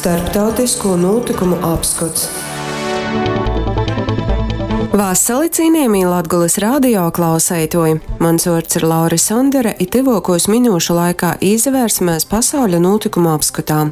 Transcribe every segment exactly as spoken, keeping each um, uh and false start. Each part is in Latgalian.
Starptautisko nūtykumu apskots. Vasali, cienījamī Latgolys radio klauseituoji! Mans vuords ir Laura Sondere, i tyvuokūs minūšu laikā īsavērsimies pasauļa nūtykumu apskotā.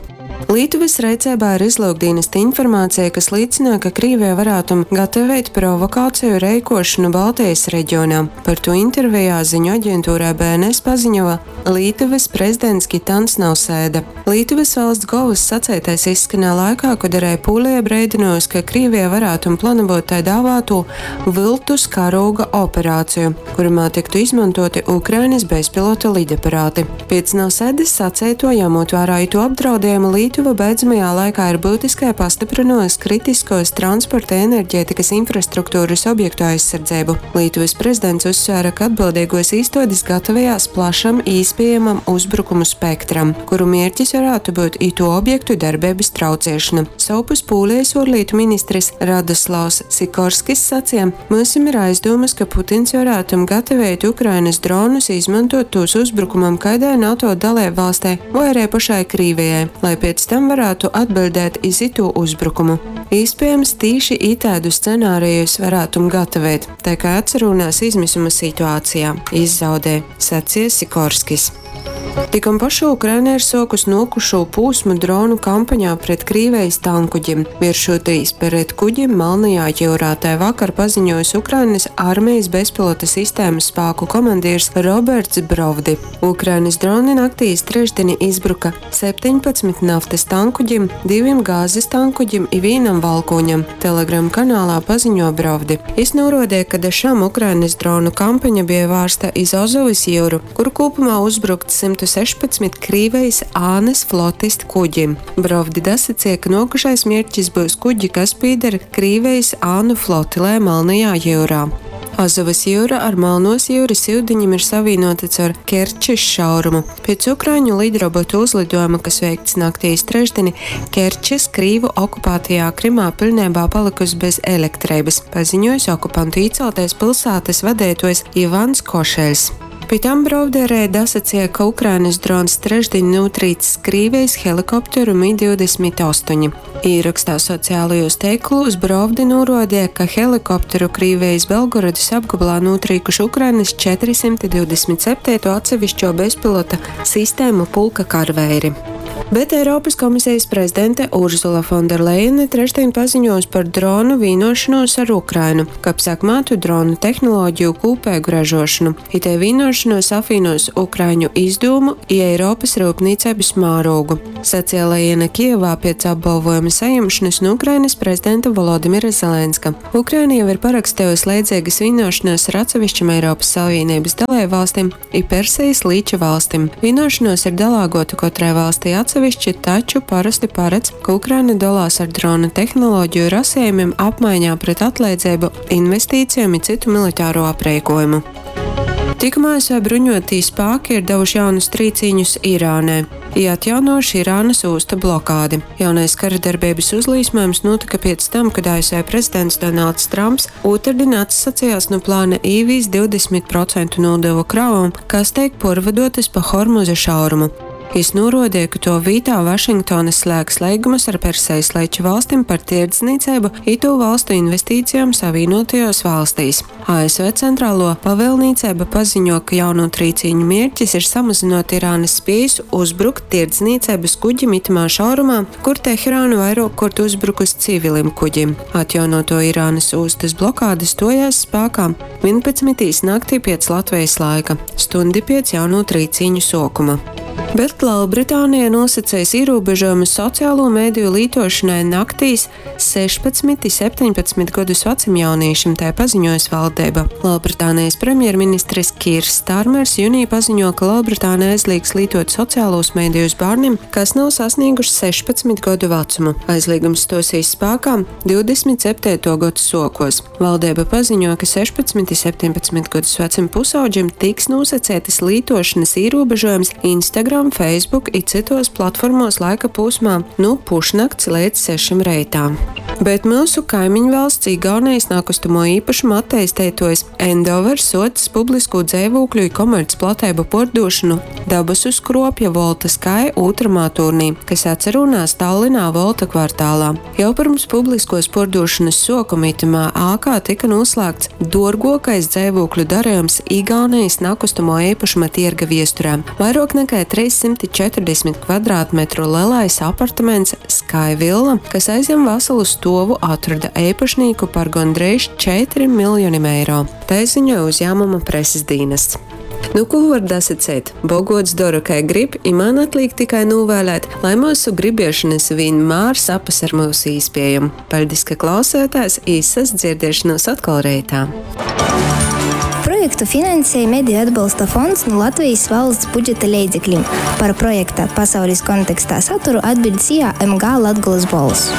Lītuvas reiceibā ir izlūkdīnesta informācija, kas līcina, ka Krīvija varētu gatavēt provokāciju reikošanu Baltijas reģionā. Par to intervijā ziņu aģentūrai B N S paziņoja Lītuvas prezidents Gitans Nausēda. Lītuvas valsts govas saceitais izskanēja laikā, kad arī Pūlija breidinojusi, ka Krīvija varētu plānot tai dāvāto viltus karūga operāciju, kurumā tiktu izmantoti Ukrainas bezpilota lidaparāti. Pēc Nausēdas saceito, ņemot vērā itu apdraudējumu, Lietuva beidzamajā laikā ir būtiskai pastiprinājusi kritiskos transporta enerģētikas infrastruktūras objektu aizsardzību. Lietuvas prezidents uzsvēra, ka atbildīgos īstodes gatavojās plašam īspējamam uzbrukumu spektram, kuru mērķis varētu būt itu objektu darbības traucēšana. Savpus Pūlijas ārlietu ministrs Radoslavs Sikorskis sacīja, mums ir aizdomas, ka Putins varētu gatavēt Ukrainas dronus, izmantot tos uzbrukumam kādai NATO dalībvalstei vai arī pašai Krīvijai, lai pēc tam varētu atbildēt iz itu uzbrukumu. Iespējams, tīši itādu scenārijus varētu gatavēt, tā kā atcerunās izmisuma situācijā, izzaudē, sacīja Sikorskis. Tikom pašu Ukraina ir sokus nokušo pūsmu dronu kampaņā pret Krīvijas tankuģim, vēršoties pret kuģim Melnajā jūrā. Tai vakar paziņojis Ukrainas armijas bezpilota sistēmas spēku komandieris Roberts Brovdi. Ukrainas droni naktīs trešdieni izbruka septiņpadsmit naftas tankuģim, diviem gāzes tankuģim i vienam valkoņam, Telegram kanālā paziņo Brovdi. Jis norādīja, ka dažām Ukrainas dronu kampaņa bija vērsta iz Azovas jūru, kur kopumā uzbrukt simt sešpadsmit Krīvijas Ānes flotistu kuģim. Brovdi dasacīja, ka nokušais mērķis būs kuģi, kas pīder Krīvijas Ānu flotilē Melnajā jūrā. Azovas jūra ar Melnos jūras ūdeņiem ir savienota caur Kerčes šaurumu. Pēc ukraiņu lidrobotu uzlidojuma, kas veikts naktīs trešdieni, Kerčes Krīvu okupētajā Krimā pilnībā palikusi bez elektrības, paziņojis okupantu īceltais pilsētas vadītājs Ivans Košeļs. Pie tam Brovderē dasacīja, ka Ukrainas drons trešdien notrīcis Krīvijas helikopteru Mi divdesmit astoņi. Īrakstā sociālajos tīklos Brovdi norādīja, ka helikopteru Krīvijas Belgorodas apgabalā notrīkuši Ukrainas četrisimti divdesmit septīto atsevišķo bezpilota sistēmu pulka karvēri. Bet Eiropas komisijas prezidente Urzula Fonderleine trešdien paziņos par dronu vienošanos ar Ukrainu, kab sekmētu dronu tehnoloģiju kūpēgu ražošanu. Itē vienošanos apvienos Ukraiņu izdomu i Eiropas rūpnīcības mērogu. Sacīja Lejena Kijevā pēc apbalvojuma saņemšanas no Ukrainas prezidenta Volodimira Zelenska. Ukraina jau ir parakstījusi līdzīgas vienošanos ar atsevišķam Eiropas Savienības dalībvalstīm i Persijas līča valstīm. Vienošanos ir dalāgota katrai valstī atsevišķi, taču parasti paredz, ka Ukraina dalās ar dronu tehnoloģiju rasējumiem apmaiņā pret atlaidzību, investīcijām un citu militāro aprēkojumu. Tikumā A S V bruņotī spēki ir devuši jaunus trīcīņus Irānai, i atjaunojuši Irānas ostu blokādi. Jaunais kara darbības uzlīsmojums notika pēc tam, kad A S V prezidents Donalds Trumps otrdien atsacījās no plāna īvīs divdesmit procentu nodevu kravam, kas tiek porvadotas pa Hormuza šaurumu. Jis norādīja, ka to vītā Vašingtona slēgs līgumus ar Persijas līča valstīm par tirdzniecību i to valstu investīcijām Savienotajos valstīs. A S V centrālo pavēlniecība paziņo, ka jauno trīcīņu mērķis ir samazinot Irānas spējas uzbrukt tirdzniecības kuģim itamā šaurumā, kur Teherānu vairāk kort uzbrukus civilim kuģim. Atjaunoto Irānas ostas blokāde stojās spēkā vienpadsmitīs naktī pēc Latvijas laika, stundi pēc jauno trīcīņu sokuma. Bet Lielbritānija nosacījis ierobežojumus sociālo mēdīju lietošanai naktīs sešpadsmit septiņpadsmit gadus vecam jauniešim, tā paziņojas valdība. Lielbritānijas premjerministrs Kirs Starmers jūnijā paziņo, ka Lielbritānija aizliegs lietot sociālos mēdījus bērniem, kas nav sasnieguši sešpadsmit gadu vecumu. Aizliegums stosies spēkā divdesmit septīto gadu sokos. Valdība paziņo, ka sešpadsmit septiņpadsmit gadus vecam pusauģim tiks nosacītas lietošanas ierobežojums Instagram, Facebook i citos platformos laika posmā no pušnakts līdz sešiem reitā. Bet myusu kaimiņvalsts Igaunejis nakustamo īpašumu atteisteituojs Endover suocs publiskū dzeivūkļu i komercplateibu puordūšonu dabasu skruopja Volta Sky ūtramā tūrnī, kas atsarūnās Tallinā Volta kvartālā. Jau pyrms publiskuos puordūšonys suokuma itymā ākā tyka nūslāgts duorguokais dzeivūkļu darejums Igaunejis nakustamo eipašuma tierga viesturē. Vairuok nakai treissymti četrdesmit kvadrātmetru lelais apartaments Sky Villa, kas aizjam vasalu stuovu, atroda eipašnīku par gondreiž četrim miljonim eiro. Tai ziņoja uzjāmuma preses dīnests. Nu, ko var dasaceit? Bogots dora, kai grib, i man atliek tikai nūvēlēt, lai mūsu gribiešanas vienmēr sapas ar mūsu īspējumu. Paļdis, ka klausētājs, īsas dzirdēšanos atkal reitā. Projektu finansēja Mediju atbalsta fonds no Latvijas valsts budžeta leidzekļiem. Par projekta pasaules kontekstā saturu atbild S I A M G Latgolas Bolss.